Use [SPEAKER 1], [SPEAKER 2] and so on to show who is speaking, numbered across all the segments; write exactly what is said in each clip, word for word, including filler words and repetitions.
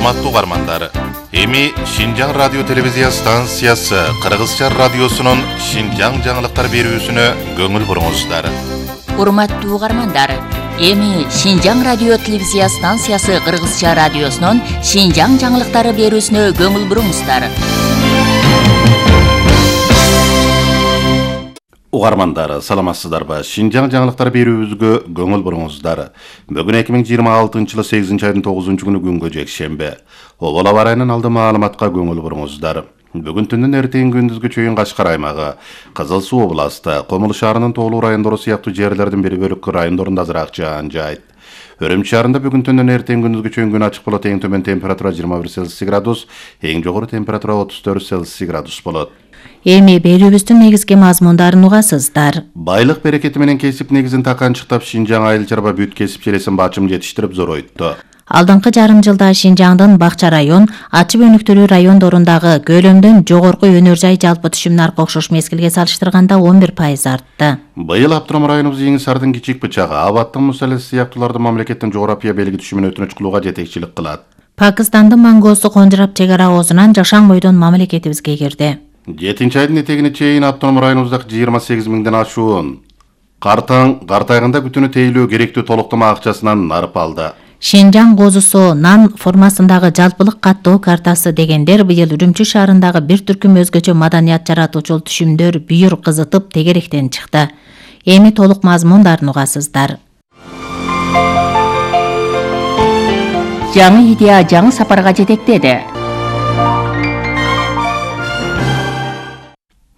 [SPEAKER 1] Урматтуу угармандар, эми Шинжаң радио телевизия станциясы Кыргызча радиосунун Шинжаң жаңылыктар берүүсүнө көңүл буруңуздар.
[SPEAKER 2] Урматтуу угармандар, эми Шинжаң радио телевизия станциясы Кыргызча радиосунун Шинжаң жаңылыктары берүүсүнө көңүл буруңуздар.
[SPEAKER 1] Угармандар, саламатсыздарбы? Шинжаң жаңылыктар берүүбүзгө көңүл буруңуздар. Бүгүн эки миң жыйырма алтынчы жылы сегизинчи айдын тогузунчу күнү күнгө жекшемби. Обол аба ырайынын алды маалыматка көңүл буруңуздар. Бүгүн түндүн эртең күндүзгү чейин Кашкар аймагы, Кызыл Суу областы, Комул шаарынын тоолуу райондору сыяктуу жерлердин бир бөлүк райондорунда азыраак жаан жайт. Өрөмчү шаарында бүгүн түндүн эртең күндүзгү чейин күн ачык болот. Эң төмөн температура жыйырма бир Цельсий градус, эң жогору температура отуз төрт Цельсий градус болот.
[SPEAKER 2] Эми берүүбүздүн негизги мазмундарын угасыздар.
[SPEAKER 1] Байлык берекети менен кесип негизин таканчыктап Шинжаң айыл чарба бүт кесип челесин бачым жетиштирип зоройтtu.
[SPEAKER 2] Алдыңкы жарым жылда Шинжаңдын Бакча район, Ачып өнүктүрүү райондорундагы көлөмдөн жогорку өнөр жай жалпы түшүм наркы окшош мезгилге салыштырганда он бир пайыз артты.
[SPEAKER 1] Быйыл Аптырам районубуз Эң Сардын кичик бычагы, Абаттын Мусалес сыяктууларды мамлекеттин жогорапия белги түшүмүнө өтүнүч кылууга жетекчилик кылат. Пакистандын
[SPEAKER 2] Мангоосу Конжурап чек ара оозунан жашаң бойдон мамлекетибизге кирди.
[SPEAKER 1] жетинчи айдын этегине чейин Аптырам районубуздагы жыйырма сегиз миңден ашуун картаң картайгында күтүүнү тейлөө керектүү толуктама акчасынан нарып алды.
[SPEAKER 2] Шинжаң козусу нан формасындагы жалпылык каттоо картасы дегендер быйыл Үрүмчү шаарындагы бир түркүм өзгөчө маданият жаратуучул түшүмдөр бүйүр кызытып тегеректен чыкты. Эми толук мазмундарын угасыздар. Жаңы идея жаңы сапарга жетектеди.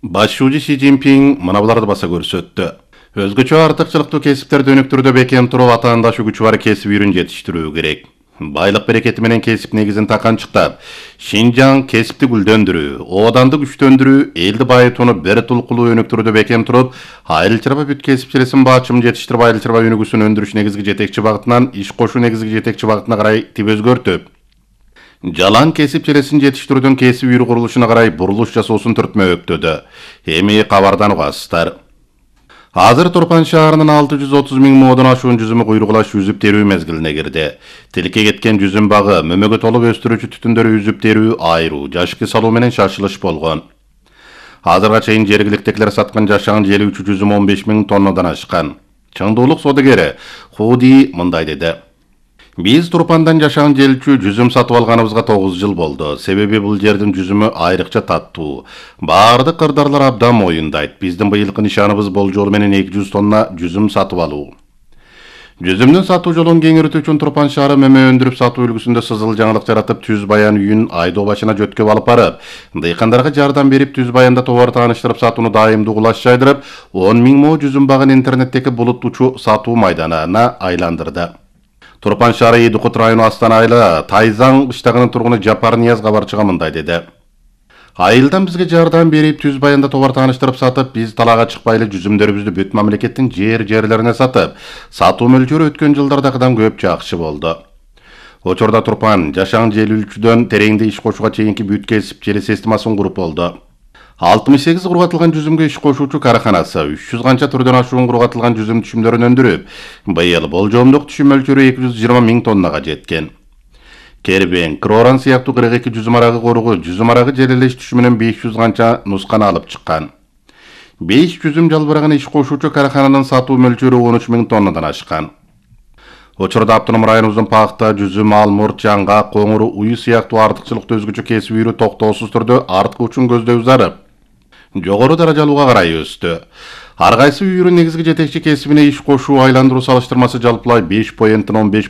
[SPEAKER 1] Башчы Си Цзиньпин мына буларды баса көрсөттү. Өзгөчө артыкчылыктуу кесиптерди өнүктүрүүдө бекем туруп, атаандашы күчү бар кесип үйрүн жетиштирүү керек. Байлык берекети менен кесип негизин таканчыктап, Шинжаң кесипти гүлдөндүрүү, ооданды күчтөндүрүү, элди байытууну бир тулкулуу өнүктүрүүдө бекем туруп, айыл чарба бүт кесип челесин бачым жетиштирип, айыл чарба өнүгүүсүн өндүрүш негизги жетекчи багытынан иш кошуу негизги жетекчи багытына карай тип өзгөртүп, жалаң кесип челесин жетиштирүүдөн кесип үйрү курулушуна карай бурулуш жасоосун түртмө өктөдү. Эми кабардан угасыздар. Азыр Турпан шаарынын алты жүз отуз миң модон ашуун жүзүмү куйругулаш үзүп терүү мезгилине кирди. Тиликке кеткен жүзүм багы, мөмөгө толуп өстүрүүчү түтүндөрү үзүп терүү, айруу, жашкы салуу менен шашылыш болгон. Азырга чейин жергиликтегилер саткан жашаан желүүчү жүзүм он беш миң тоннадан ашкан. Чыңдуулук содагери Худи мындай деди. Биз Турпандан жашаан желүүчү жүзүм сатып алганыбызга тогуз жыл болду. Себеби бул жердин жүзүмү айрыкча таттуу. Баардык кырдаарлар абдан моюндайт. Биздин быйылкы нишаныбыз болжол менен эки жүз тонна жүзүм сатып алуу. Жүзүмдүн сатуу жолун кеңейтүү үчүн Турпан шаары мөмө өндүрүп сатуу үлгүсүндө сызыл жаңылык жаратып, Түз Баян үйүн айдоо башына жөткөп алып барып, дыйкандарга жардам берип, Түз Баянда товар тааныштырып, сатууну дайымдуу кулаш жайдырып, он миң мо жүзүм багын интернеттеги булуттуучу сатуу майданына айландырды. Турпан шаары Идукут району Астана айылы Тайзаң кыштагынын тургуну Жапар Нияз кабарчыга мындай деди. Айылдан бизге жардам берип, Түз Баянда товар тааныштырып сатып, биз талаага чыкпайлы жүзүмдөрүбүздү бүт мамлекеттин жер-жерлерине сатып, сатуу мөлчөрү өткөн жылдардагыдан көп жакшы болду. Учурда Турпан жашаан желүүчүдөн тереңде иш кошууга чейинки бүт кесип челе системасын куруп болду. алтымыш сегиз кургатылган жүзүмгө иш кошуучу караханасы үч жүз канча түрдөн ашуун кургатылган жүзүм түшүмдөрүн өндүрүп, быйыл болжомдук түшүм мөлчөрү эки жүз жыйырма миң тоннага жеткен. Кербен, Кроран сыяктуу кырк эки жүзүм арагы коругу жүзүм арагы желелеш түшүмүнөн беш жүз канча нусканы алып чыккан. беш жүзүм жалбырагын иш кошуучу карахананын сатуу мөлчөрү он үч миң тоннадан ашкан. Учурда Аптырам районубуздун пахта, жүзүм, алмурт, жаңгак, коңур, уй сыяктуу артыкчылыктуу өзгөчө кесип үйрү токтоосуз түрдө арткы үчүн көздөй зарып, жогору даражалууга карай өстү. Ар кайсы үйрүн негизги жетекчи кесибине иш кошуу айландыруу салыштырмасы жалпылай беш поенттен он беш